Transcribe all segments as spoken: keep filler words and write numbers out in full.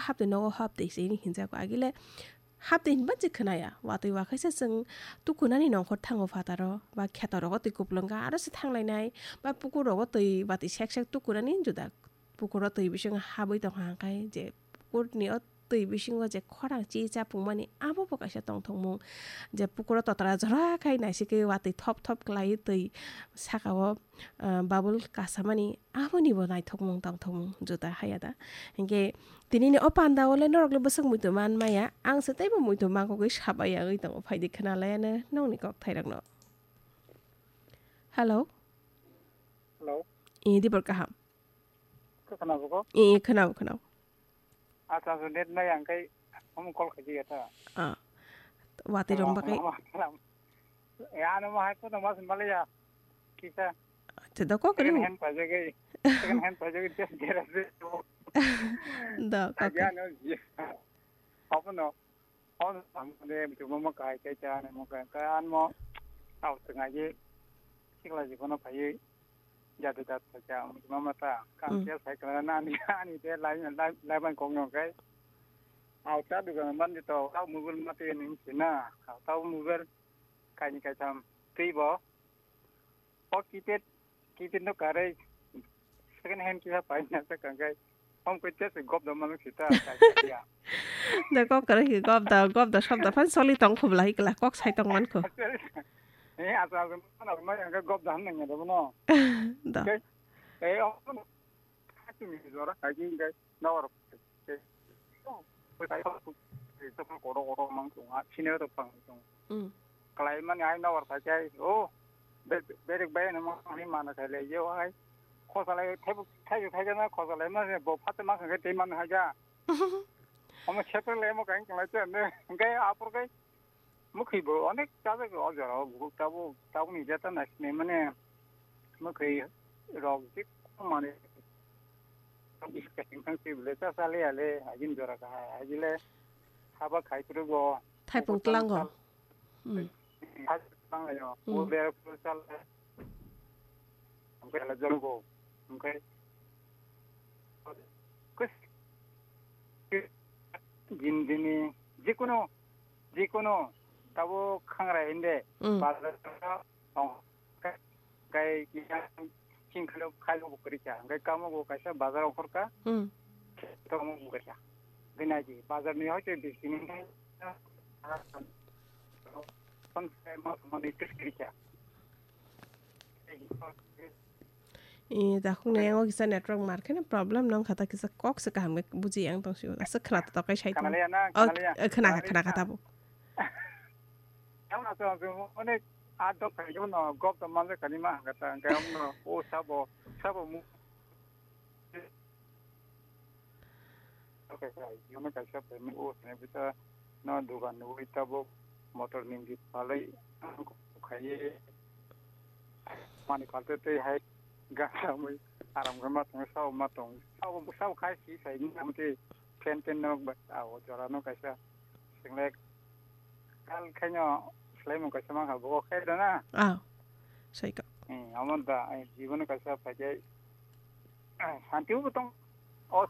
haptwi nogo haptwi se hinjago agile haptwi hinba je khwnaya. Watwi wakhaisa chwng tukunani nongkhor thango phataro ba khetorogo twi kuplwng ga aro se thanglainai ba pukurogo twi watwi sek sek tukunani juda pukuro twi bising habwi tongkha hwnkhai je pukurni o twi bisingo je khorang chi chapungmani abo bo kaisa tongthokmung je pukuro totra jora khai naisikhe watwi thop thop khlaiwi twi sakao ah, bubble kasamani aboni bo naithokmung tongthokmung juda haya da. Hinkhe tinini o panda o le norok le bwswk muitu man maya, ang se teibo muitu mangkogwi sabai yagwi tongo, phaidi khwnalaiano nokni kok thairokno. Hello. Hello. I dibor kaham. Khe khwnabo ko? I, i, khwnabo, khwnabo. Acha, acha, net nai ang khai omo call khaji ya ta. Ah. Watwi rong bagwi. Ya, ano ma hai ko mas malaya. Kisa. Acha, da kok second ring. Hand pajagwi. Second hand pajagwi just garage. Da kok. Aja no ji. Apa no? Hon samode mama kai kai cha ne mo kai kai an mo. Au tngai ji. Sikla ji kono phai. Jadu jat phacha mama ta kam Mm. Kya cycle na ani ani de lai lai lai ban kong yong kai. Au ta dugan ban de to au mobile ma te ning sina. Au ta mobile kai ni kai tham tei bo. O keypad keypad no kare second hand kisa pai na sa kang kai. Hom kai cha se gop da man sita kai ya. Da kok kare ki gop da gop da sob da fan soli tong khub lai kla kok sai tong man khu. Eh, asa asa mana mana yang gop da han nang ya da no. Da. Kai. Eh, oh, no. Kasi mi zora kai jing kai. Na war. Kai. Oh, kai. Itu kan koro koro mang tu. Ah, sini tu pang tu. Mm. Kalai mani ai na war kai kai. Oh. Be-, berek bai na mang ni mana kai le yo ai. Khosa lai thai thai thai na khosa lai ma bo phat ma kai te man ha ja. Omo sepre le mo kai kalai te ne. Kai apor kai. Mukhi bo onek chabe o jora o gubuk tabo tabo ni jeta na sini mane. Mukhi rok jik mane. Iskeng kang si bile cha sale ale ajin jora ka ajile. Haba khai puru go. Thaipung tlango. Hmm. Thaipung tlango. Hmm. Ule puru sale. Oke ala jolgo. Oke. Kus. Jindini. Jikuno. Jikuno. Tabo khangra hinde. Hmm. Bazar. Kai kisa chingkhalo khailo bo kwrwi kha. Hwnkhe kamo bo kaisa bazar ongkhor kha. Hmm. Kamo bo kwrwi kha. Bini aji bazar ni hoite bisini son sai ma mani kwrwi kha. Eh, dakhung ne yango kisa network mar kheno problem nong khata kisa kok se kaham khe buji yang tong sio. Asa khna ta tokai sai tong. Khna liya na, oh, khna liya. Eh, khna, khna kha tabo. Yang na so, so, onek adok khai no gop to male kani ma hangkata, hangkai no, o sabo, sabo mu. Okay, okay, yono kaisa pemi o sene bita no dugan nugui tabo motor ningdi palai khai mani palte tei hai ga samui aram ga ma tong sao ma tong sao sao khai si sai ni amte pen pen nok ba ao jora no kaisa single kal khaino selai mung kaisa ma ha bo khai da na. Ah, sai ka. Eh, amon da, eh, jibono kaisa phai jai. Santi bo tong. O.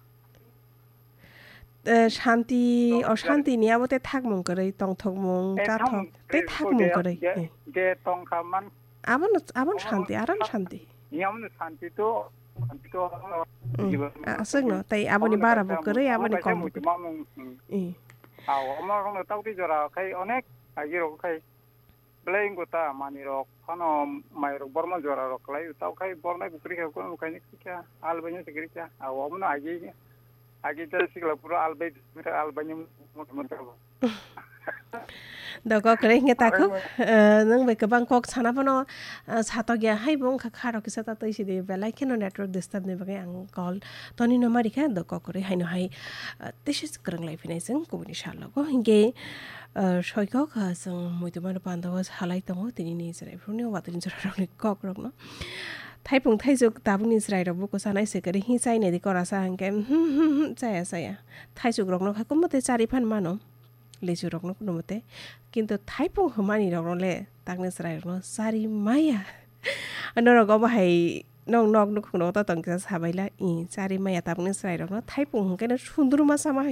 Eh, shanti, o shanti ni abo te thakmung kwrwi, tongthokmung, eh, chathok, thang-, tei eh, thakmung de, kwrwi. De, eh. De tongkha man. Abono, abono shanti, aran shanti. Ni abono shanti to, shanti to, mm, jibono a-, aswkno, tei aboni bara bo kwrwi, aboni kom bo kwrwi. Mamung, mm. Eh. Aw, omo rokno tawtwi jora khai onek, agirok khai. Belai wngkha ta manwirok phano mairok borma jorarok kwlai, tao khai bornai bo kwrwi kha, kono bo kainwi kwrwi kha, albaino se kwrwi kha. Aw, omono agi, agi ta sikla puro albai, albaino motha motha bo. Doko kwrwi hwnkhe ta khuk, eh, nwng bai kwbang kok sana phano, eh, satok ya hai bo wngkha kha rok kisa ta twi sidi belai kheno network disturb ni bagwi ang call toni no mari kha, doko kwrwi haino hai, eh, tisi kwrwng lai phinai chwng kubuni sal logo. Hinkhe, eh, soikok, ah, chwng muitu mano panda o salai tongo, tini ni chwrai phuru ni watwi ni chwrai rok ni kok rok no. Thaipung thaichuk tabuk ni chwrai rok buko sanai se kwrwi hi chai nai di kora sa hwnkhe, hmm, hmm, hmm, chaya, chaya. Thaichuk rok no kha komo tei chari phan mano, lichu rok no kunumo tei. Kintu thaipung hwmani rok no le takni chwrai rok no chari maya. Norok omo hai nong nok nukhung rok to tong kisa sabaila, i chari maya tabuk ni chwrai rok no thaipung hwnkhe no sundru ma sama hai.